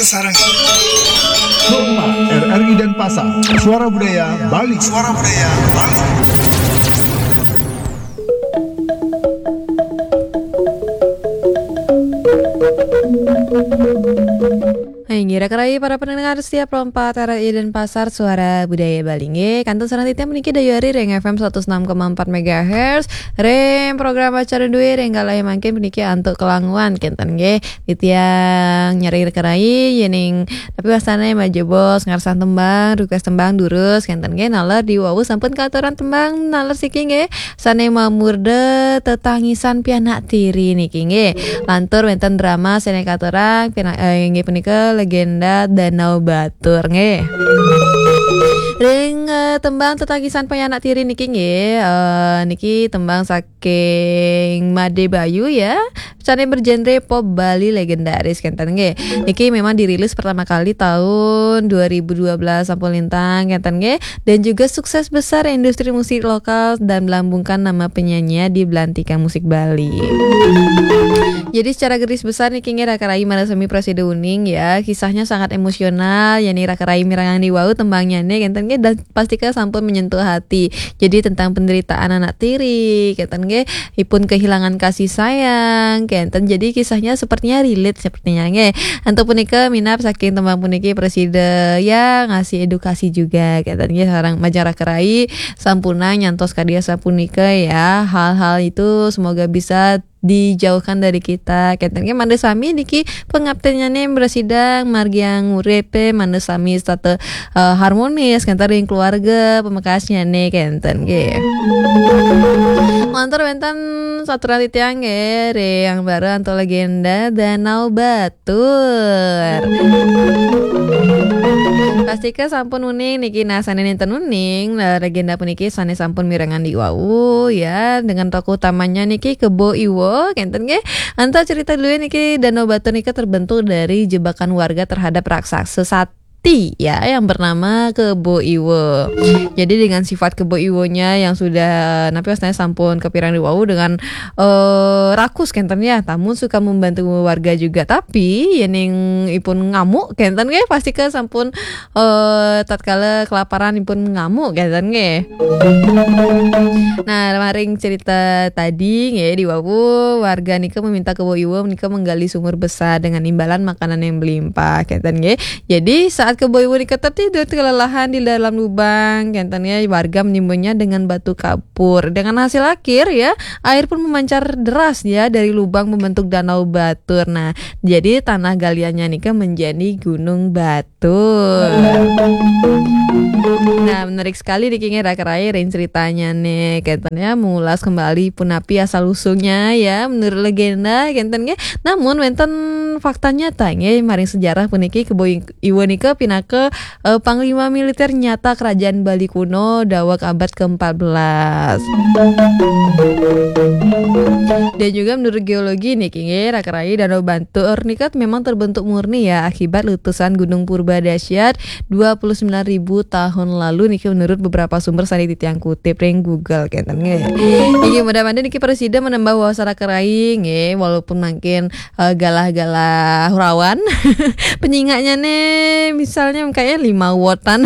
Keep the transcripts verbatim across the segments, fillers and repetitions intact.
Sarang. Pro empat, R R I Denpasar, Suara Budaya Bali. Suara Budaya Bali. Hai, ngira kerai para pendengar setia Pro empat R R I Denpasar, Suara Budaya Bali nggih. Kantun sareng titiang puniki dayuh ari ring F M seratus enam koma empat megahertz, ring program acara duwe ring galah mangkin puniki antuk kelanguan kenten nggih. Titiang nyarengin kerai yening tapi wastane majebos ngarsan tembang, request tembang durus kenten nggih. Naler di wau sampun katuran tembang naler siki nggih. Sane mamurda Tetangisan Pianak Tiri niki nggih. Lantur wenten drama sane katurang pina-, eh, inggih punika Legenda Danau Batur nggih. Ring, eh, tembang Tetangisan Pianak Tiri niki nggih, eh, niki tembang saking Made Bayu ya. Sane bergenre pop Bali legendaris kenten nggih. Niki memang dirilis pertama kali tahun dua ribu dua belas sampun lintang kenten nggih. Dan juga sukses besar industri musik lokal dan melambungkan nama penyanyi di belantika musik Bali. Jadi secara garis besar niki nggih Raka Rai marasami prasida uning ya. Kisahnya sangat emosional, yani Raka Rai mirengang di wau tembangnyane kenten nggih dan pastika sampun menyentuh hati. Jadi tentang penderitaan anak tiri kenten nggih, ipun kehilangan kasih sayang kenten. Jadi kisahnya sepertinya relate sepertinya nggih. Antuk punika minab saking tembang puniki prasida ya ngasih edukasi juga kenten nggih sareng majeng Raka Rai sampunang nyantos kadi asapunika ya. Hal-hal itu semoga bisa dijauhkan dari kita. Kenten nggih mangda sami niki pangaptinnyane mrasidang margiang uripe mangda sami setata, eh, harmonis kenten ring keluarga pamekasnyane kenten nggih. Lantur wenten saturan titiang nggih ring Ambara antuk legenda Danau Batur. Pastika sampun uning niki nah sane nenten uning, nah, legenda puniki sane sampun mirengang di wau ya dengan tokoh utamanya niki Kebo Iwa kenten nggih. Antuk cerita dulu niki Danau Batur nika terbentuk dari jebakan warga terhadap raksasa sati ya yang bernama Kebo Iwa. Jadi dengan sifat Kebo Iwanya yang sudah napi wastane sampun kapireng di wau dengan, eh, rakus kenten ya, tamun suka membantu warga juga. Tapi yening ipun ngamuk kenten nggih pastika sampun, eh, tatkala kelaparan ipun ngamuk kenten nggih. Nah, maring cerita tadi nggih di wau warga nika meminta Kebo Iwa menika menggali sumur besar dengan imbalan makanan yang melimpah kenten nggih. Jadi saat Kebo Iwa nika tertidur kelelahan di dalam lubang kenten nggih warga menimbunnya dengan batu kapur. Dengan hasil akhir ya, air pun memancar deras ya dari lubang membentuk danau batur. Nah, jadi tanah galiannya nika menjadi Gunung Batur. Nah, menarik sekali niki nggih Raka Rai ring ceritanya nih. Kenten ya mengulas kembali punapi asal usulnya ya menurut legenda kenten nggih. Namun wenten fakta nyata nggih maring sejarah puniki Kebo Iwa nika pinaka, eh, panglima militer nyata kerajaan Bali kuno daweg abad keempat belas. Dan juga menurut geologi niki nggih Raka Rai Danau Batur nika memang terbentuk murni ya akibat letusan Gunung Purba dahsyat dua puluh sembilan ribu tahun lalu niki menurut beberapa sumber sane titiang kutip ring Google kenten nggih. Inggih mudah-mudahan niki prasida menambah wawasan Raka Rai nggih walaupun mungkin, eh, galah-galah rawan. Penyingaknya nih misalnya kayaknya lima wotan.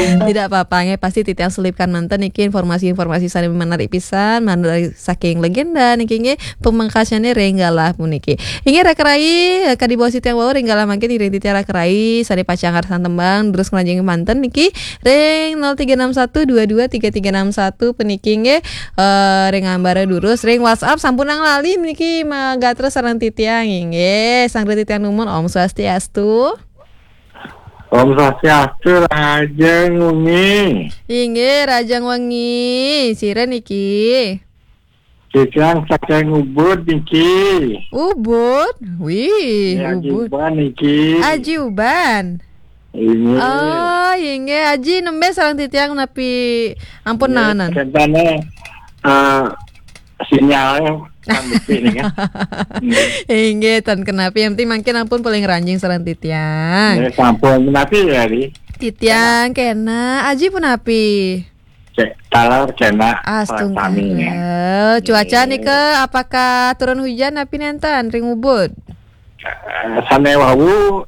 Tidak apa-apa nggih pasti titiang selipkan manten niki informasi-informasi sane menarik pisan manten saking legenda niki nggih pamekasnya ring galah puniki. Inggih Raka Rai, eh, kadi basa titiang wau ring galah mangkin iring titiang Raka Rai sane pacang ngarsan tembang terus ngelanjing manten niki ring nol tiga enam satu dua dua tiga tiga enam satu puniki nggih, eh, ring Ambara durus ring WhatsApp sampunang lali niki magatra sareng titiang inggih. Sang titiang numun Om Swastiastu. Om Swastiastu, Rajeng Wengi. Inggih, Rajeng Wengi. Sira niki? Titiang saking Ubud niki. Ubud? Wih, ya, Ubud. Aji Uban niki. Aji Uban. Inggih. Oh, inggih. Aji nembe sareng titiang napi ampun nanan. Kentane, eh, sinyalnya kan betul nih kan. Inggih, tan kenapi. Yang penting mangkin ampun paling ranjing sareng titiang. Ya, sampun. Napi ya, Ri? Titiang kena. Aji punapi? Cek taler kena. Astungkara. Sami, ya. Cuaca nika apakah turun hujan napi nenten ring Ubud? Eh, sane wau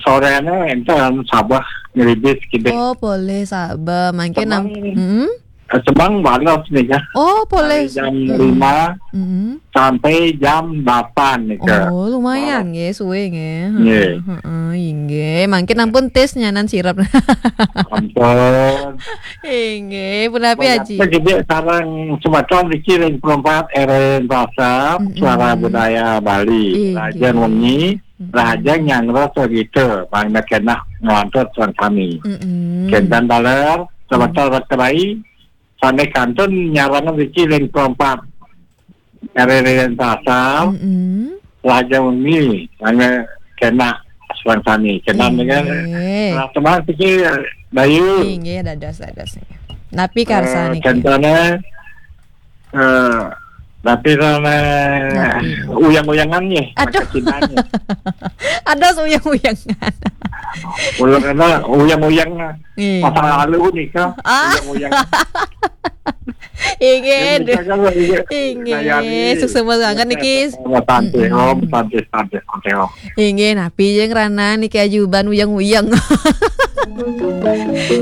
Soréné énten sabeh ngribis kidik. Oh, polih sabeh. Mangkin nam-, Cemang, mm-mm. Eh, Cemang balas nih ya. Oh, polih. Dari jam Mm-mm. lima Mm-mm. sampai jam delapan nih, Kak. Oh, lumayan nggih, suwe nggih. Nggih. Heeh, heeh, inggih. Mangkin ampun tis nyanan sirep. Ampun. Inggih, punapi, Aji? Jadi sareng semeton niki ring perempat R W Pasar, Mm-mm. Suara Budaya Bali. Inggih. Rahajeng wengi, Mm-mm. rahajeng nyanggra sarita, mangda kénak nglantur sareng sami. Mm-mm. Kénten taler, semeton Mm. Ratu Rai, sané kantun nyarengin niki ring perempat R W Pasar, Mm-mm. rahajeng wengi, mangda kénak sareng sami. Kénten Inggih. dengan, nah, teman pikir, Bayu. Inggih, dados, dados. Napi karsa Eh, niki? Contohnya, eh, tapi sama Napi? Uyang-uyangan nih, Aduh. Maka cinta nih. Ados uyang-uyangan. Uyang-uyangan, uyang-uyang Iya. masa lalu nih, Kak. Ah. Uyang-uyangan. Inggih, Yang aduh. Bisa kan, iya. Inggih, Dayani. Suksma banget niki. Sama Tante Mm-mm. Om, Tante, Tante, Tante Om. Inggih, napi jeung rana niki ajuban uyang-uyang.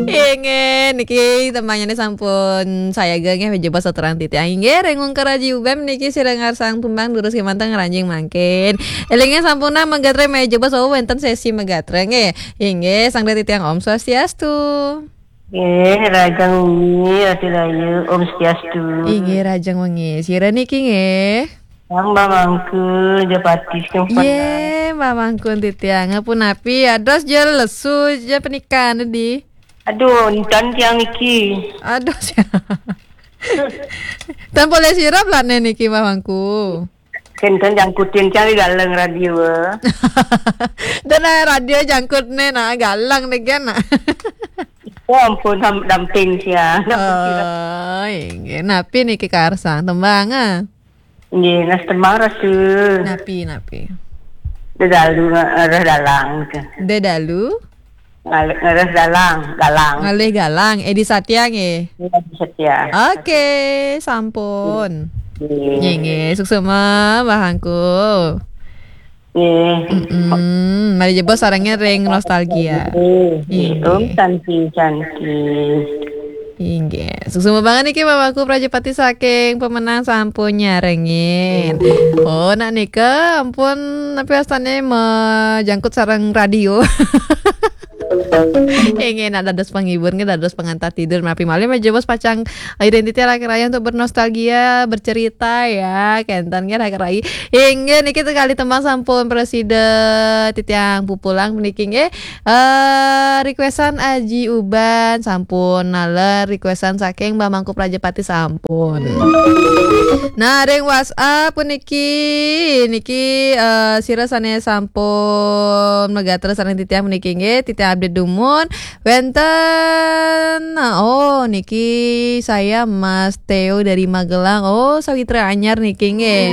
Inggih, niki temannya sampun sayaga nggih, jebos saturan titiang. Inggih, ring ungkur Aji Ubem niki sira ngarsang tembang durus kémanten ngranjing mangkin. Élinga sampun nah magatra, jebos wau wénten sési magatra nggih. Inggih, sang titiang Om Swastiastu. Nggih, rahajeng wengi, Ratu Rahayu, Om Swastiastu. Inggih, rahajeng wengi. Sira niki nggih? Mbah Mangkun, Japati, Sumpah. Yé, Mbah Mangkun titiang. Punapi, ados ja lesu ja pernikahan di. Aduh, énten tiang niki. Aduh, sia. Tan polih sirep lah né niki, Mbah Mangku. Kénten jangkutin tiang di galeng radio. Dan radio jangkut né, nah, galeng deh, kan, nah. Oh, ampun, ham-, damping sia. Oh, inggih. Napi niki karsang tembang, ah? Nggih, nas tembang rasul. Napi, napi? Dedalu nge-, ngereh dalang, gitu. Dedalu? Ngalih, ngereh dalang, galang. Ngalih galang, Edi Satya, nggih? Iya, Edi Satya. Oke, sampun. Nggih. Nggih, nggih. Suksma, Mbah Angku. Nggih. Mm-mm. Mari jebos sarengin ring nostalgia. Nggih. Nggih. Om Santi, Santi. Inggih. Suksma banget niki Mbah Angku Prajapati saking Pemenang sampun nyarengin. Oh, nak nika ampun, napi wastané majangkut sareng radio. Inggih, nak dados penghibur, nggih, dados pengantar tidur. Napi malih majebos pacang identiti laki raya untuk bernostalgia, bercerita ya. Kénten nggih laki raya. Inggih, niki teka kalih tembang sampun prasida titiang pupulang puniki nggih. Eh, requestan Aji Uban sampun, naler requestan saking Mbah Mangku Prajapati sampun. Nah, ring WhatsApp puniki, niki, eh, sira sané sampun magatra sareng titiang puniki nggih, titiang update dumun. Wénten, oh, niki saya Mas Theo dari Magelang. Oh, sawitra anyar niki nggih.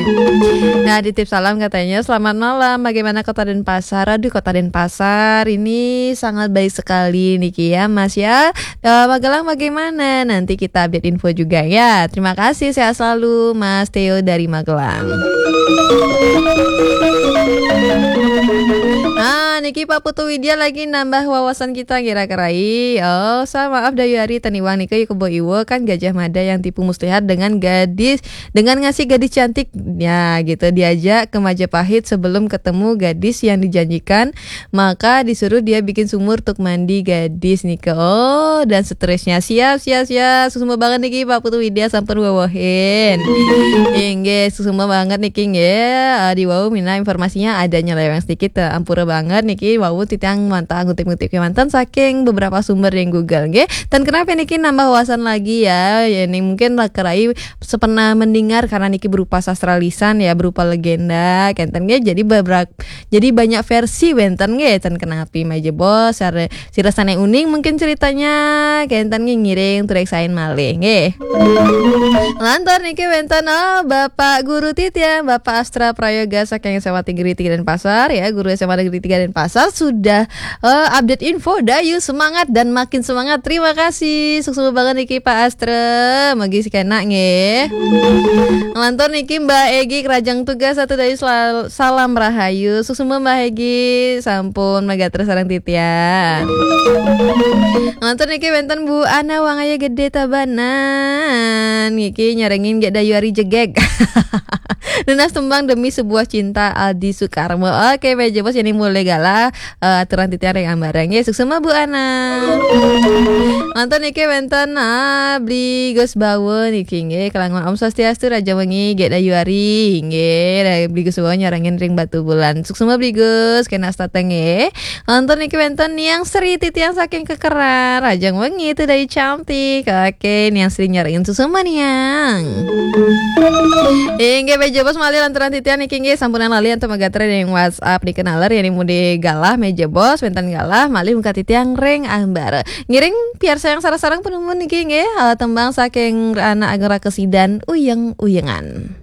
Nah, titip salam katanya, "Selamat malam, bagaimana Kota Denpasar?" Aduh, Kota Denpasar ini sangat baik sekali niki ya, Mas ya. Eh, Magelang bagaimana? Nanti kita update info juga ya. Terima kasih, sehat selalu, Mas Theo dari Magelang. Ah, niki Pak Putu Widya lagi nambah wawasan kita kira-kira. Oh, sa maaf Dayu Ari Taniwang nika yuk kebo iwa kan Gajah Mada yang tipu muslihat dengan gadis, dengan ngasih gadis cantik. Ya, gitu, diajak ke Majapahit sebelum ketemu gadis yang dijanjikan, maka disuruh dia bikin sumur untuk mandi gadis nika. Oh, dan seterusnya. Siap, siap, siap. Suksma banget niki Pak Putu Widya sampun wewehin. Inggih, suksma banget niki nggih. Eh, di wau minta informasinya ada nyeleweng sedikit, eh, ampura banget niki wau titiang mantah ngutip-ngutip kémanten saking beberapa sumber yang Google nggih. Dan kenapa niki nambah wawasan lagi ya? Ya, ini mungkin laki raya sepernah mendengar karena niki berupa sastra lisan ya, berupa legenda, kénten nggih. Jadi bebra-, jadi banyak versi wénten nggih, ten kenapi majebos, sare-, sira sané uning mungkin ceritanya, kénten nggih ngiring tureksain malih nggih. Lantur niki wénten, oh, Bapak Guru titiang, Bapak Astra Prayoga saking S M A Negeri tiga Denpasar ya, Guru S M A Negeri tiga Denpasar. Asal sudah eh, update info, dayu semangat dan makin semangat. Terima kasih. Suksma banget niki Pak Astra. Magi si kena nggih. Ngelantur niki Mbak Egi Kerajang Tugas satu dayu sel- salam rahayu. Suksma Mbak Egi, sampun magatra sareng titiang. Ngelantur niki wenten Bu Ana Wangaya Gede Tabanan. Niki nyarengin gek dayu ari jegeg. Nunas tembang Demi Sebuah Cinta Aldi Sukarmo. Oke, meja bos ini mulai galah eh, aturan titiang ring ambarang nggih. Suksma Bu Ana. Nonton niki wenten ah, Bli Gus Bawa niki nggih. Kelangan Om Swastiastu, Raja Wengi, gek dayu ari nggih. Bli Gus Bawa nyarengin ring Batu Bulan. Suksma Bli Gus, kena stateng nggih. Nonton niki wenten Niang Sri titiang saking Kekeran. Raja Wengi itu dari cantik. Oke, Niang Sri nyarengin suksma Niang. Inggih, meja bos malih lantaran titiang niki nggih sampunan lali antuk magatra ring WhatsApp dikenaler yen mudi galah meja bos wenten galah malih muka titiang ring ambar. Ngiring piarsayang sareng-sareng penemuan niki nggih eh, tembang saking anak Agung Rakesidan Uyeng-uyengan.